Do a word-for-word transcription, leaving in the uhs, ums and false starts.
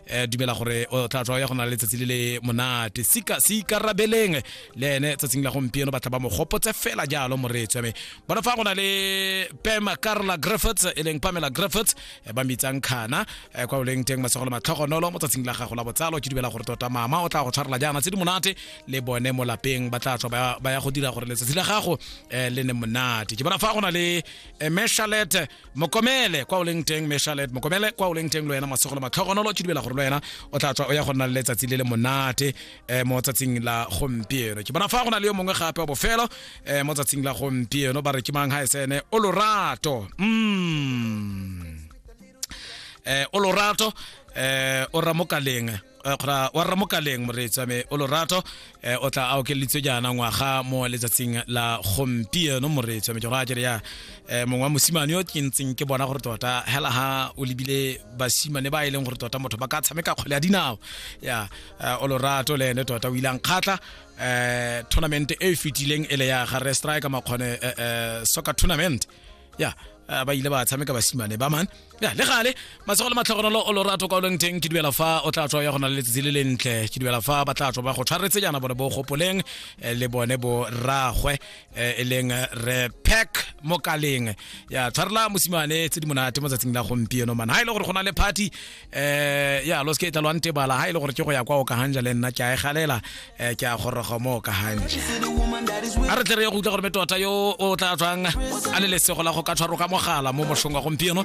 um dumela gore o tla tswa ya go na le letsatsi le le monate. Sika se ikarabeleng le ene tsatsing la gompieno, batla ba mo gopotse fela jalo moreetsi wa me. Bona fa go na le Pema Carla Griffiths, e leng Pamela Griffiths, eh, ba mitsang Khana, eh, kwa o leng teng, masego le matlhogonolo mo tsatsing la gago la botsalo. Ke dumela gore tota mama o tla go tshwarela jaana tse di monate, le bone mo lapeng ba tla tswa ba ba ya go dira gore letsatsi la gago eh, le ne monate. Ke bona fa go na le eh, Meshalet Mokomele, kwa o leng teng, Meshalet Mokomele, kwa o leng teng le wena, masego le matlhogonolo. Ke dumela gore le wena o tla tswa o ya go nna le letsatsi le le monate eh, mo tsatsing la gompieno. Ke bona fa go na le yo mongwe gape wa bofelo eh, mo tsatsing la gompieno, ba re ke mang ga e sene o lorato mm. eh o lorato eh o ramokaleng, eh, kgora wa ramokaleng, moreetsi wa me o lorato, eh, o tla a okeleditswe jaana ngwaga mo letsatsing la gompieno, moreetsi wa me. Ke go raya ke re ya eh, mongwe wa mosimane yo ke ntseng ke bona gore tota hela ha o lebile basimane ba e leng gore tota motho ba ka tshameka kgwele ya dinao ya eh, o lorato le ene tota o ile a nkgatlha eh tournament e e fetileng e le ya ga re striker makgone eh, eh, soccer tournament ya eh, ba ile ba tshameka basimane ba man ya. Le gale, matsogo le matlhogonolo o lorato kwa o leng teng. Ke dumela fa o tla tswa ya go na le letsatsi le lentle. Ke dumela fa ba tla tswa ba go tshwaretse jaana bone bo gopoleng, eh, le bone bo rragwe, eh, e leng eh, re Pack Mokaleng ya tshwarela mosimane tse di monate mo tsatsing la gompieno man. Ha e le gore go na le party eh ya lo se ke tla lwa ntebala, ha e le gore ke go ya kwa o ka hanja le nna ke a e galela, eh, ke a goroga mo o ka hanja. A re tle re ye go utlwa gore me tota yo o tla tswang a le lesego la go ka tshwarwa ka mogala mo mošong wa gompieno.